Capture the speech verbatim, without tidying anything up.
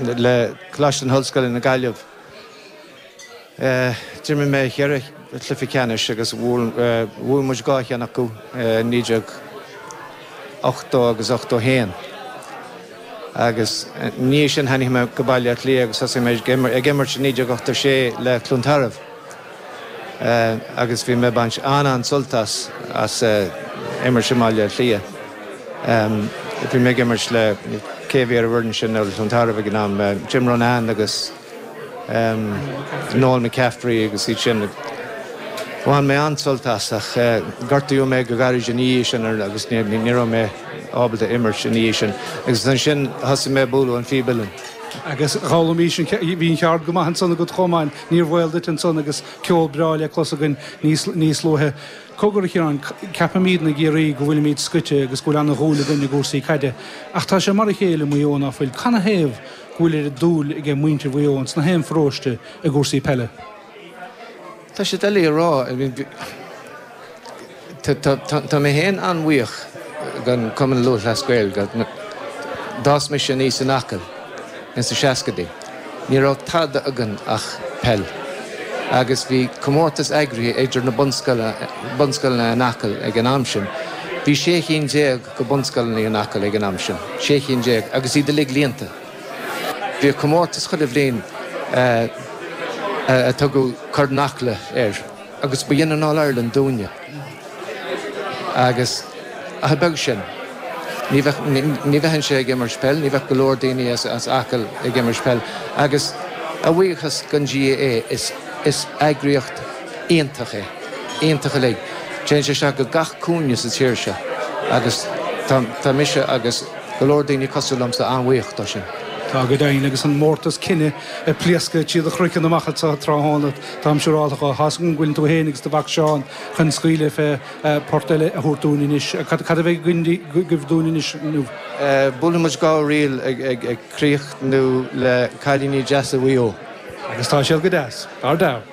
le Coláiste na hOllscoile na Gaillimh. D'imir mé cheithre chluiche ceannais agus bhuaigh muid dhá cheann acu naoi déag ochtó agus ochtó haon. Agus ina dhiaidh sin tháinig mé go Baile Átha Cliath agus thosaigh mé ag imirt i naoi déag ochtó sé le Cluain Tarbh. Agus bhí mé ag baint an-an-sult as as imirt i mBaile Átha Cliath. Bhí mé ag imirt le cé a bhí ar an bhfoireann sin ar Chluain Tarbh ag an am, Jim Ronán agus Noel McCaffrey agus iad sin. Bhain mé an-sult as ach gortaíodh mé go gairid ina dhiaidh sin agus ní raibh mé ábalta imirt ina dhiaidh sin. Agus ansin thosaigh mé ag bualadh an phíb uilleann. Agus d'fhoghlaimís an, bhí an cheard go maith ansan agat chomh maith, níor bhaol duit ansan agus ceol breá le clos againn níos, níos luaithe. Cogar a Chiaráin, ceapaimídne i gCiarraí go bhfuilimíd scoite agus go bhfuil ana-dhúil againn i gcúrsaí caide, ach tá sé mar a chéile i Maigh Eo ná fuil? Canathaobh go bhfuil oiread dúil aige muintir Mhaigh Eo ins na haon pharóiste i gcúrsaí peile? Tá sé doiligh a rá. Tá mé féin an-bhuíoch don Cumann Lúthchleas Gael. D'fhás mise aníos in Acaill ins na seascaidí. Ní raibh tada againn ach peil. Agus bhí comórtas eagraithe idir na bunscoileanna in Acaill ag an am sin. Bhí sé chinn déag de bunscoileanna in Acaill ag an am sin. Sé chinn déag. Agus iad uilig líonta. Bhíodh comórtas chuile bhliain a tugadh Corn Acla air agus ba shin an All Ireland dúinne. Agus ach a bheag sin, ní bheadh, ní bheinnse ag imirt peil, ní bheadh go leor daoine as, as Acaill ag imirt peil. Agus a bhuíochas don GAA, is, is eagraíocht iontach é, iontach uilig. Téann sé isteach go gach cúinne sa tír seo agus tá, tá mise agus go leor daoine cosúil liomsa an-bhuíoch dó sin. Tá go deimhin, agus an mórtas cine ag pléascadh trí do chraiceann amach anseo tráthnóna, táim siúrálta dhó. Tá's agam go bhfuileann tú féin agus do mhac Seán chun scaoileadh fé port eile a thabhairt dúinn anois. Cad a bheidh agaibh dúinn anois inniu? Buailfidh muid dhá ríl ag críochnú le Cailíní Deasa Mhaigh Eo. Agus tá siad go deas, dar dear.